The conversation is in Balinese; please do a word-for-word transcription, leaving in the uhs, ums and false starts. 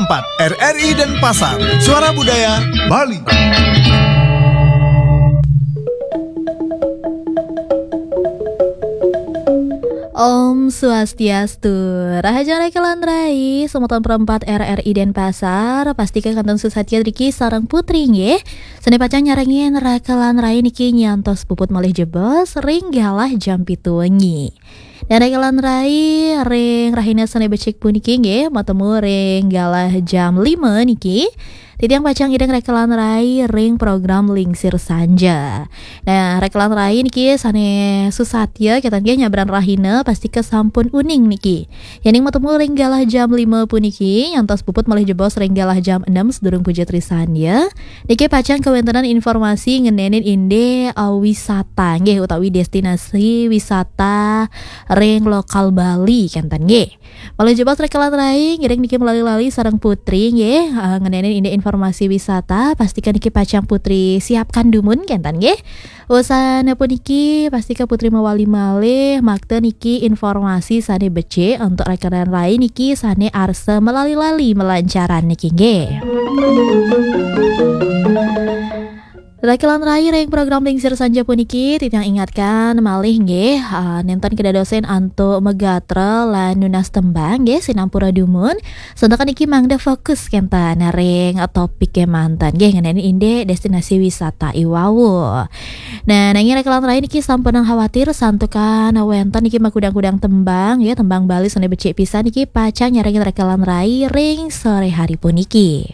empat R R I Denpasar, Suara Budaya Bali. Om Swastiastu. Rahajeng rekelan rai, semeton perempat R R I Denpasar, pastika kantun susatya driki sareng putri nggih. Sane pacang nyarengin rekelan rai niki nyantos puput malih jebos ring galah jam pitu wengi. Dan rekelan rai ring rahina sane becik puniki nggih, matemu ring galah jam lima niki. Titiang pacang iring rekelan rai ring program Lingsir Sanja. Nah, rekelan rai niki sane susatya, ketan nggih, nyabran rahina, pastika sampun uning niki. Yening matemu ring galah jam lima puniki, nyantos puput malih jebos ring galah jam enam sedurung puja trisandya. Niki pacang kawentenan informasi ngenenin indik, eh, wisata, nggih, utawi destinasi wisata ring lokal Bali, kenten, nggih. Malih jebos rekelan rai, ngiring niki melali-lali sareng putri, nggih, eh, ngenenin indik informasi wisata, pastika niki pacang putri siapkan dumun, kenten, nggih. Wusan puniki, pastika putri mawali malih, makta niki informasi sane becik untuk rekelan rai niki sane arsa melali-lali melancaran niki, nggih. Rekelan rai ring program Lingsir Sanja puniki, titiang ingatkan malih, nggih, ah, nenten kedadosin antuk magatra lan nunas tembang, nggih, sinampura dumun. Santakan niki mangda fokus kenten ring topik kemanten, nggih, ngenenin indik destinasi wisata iwau. Nah, nanging rekelan rai niki sampunang khawatir santukan wenten niki makudang-kudang tembang, ya, tembang Bali sane becik pisan niki pacang nyarengin rekelan rai ring sore hari puniki.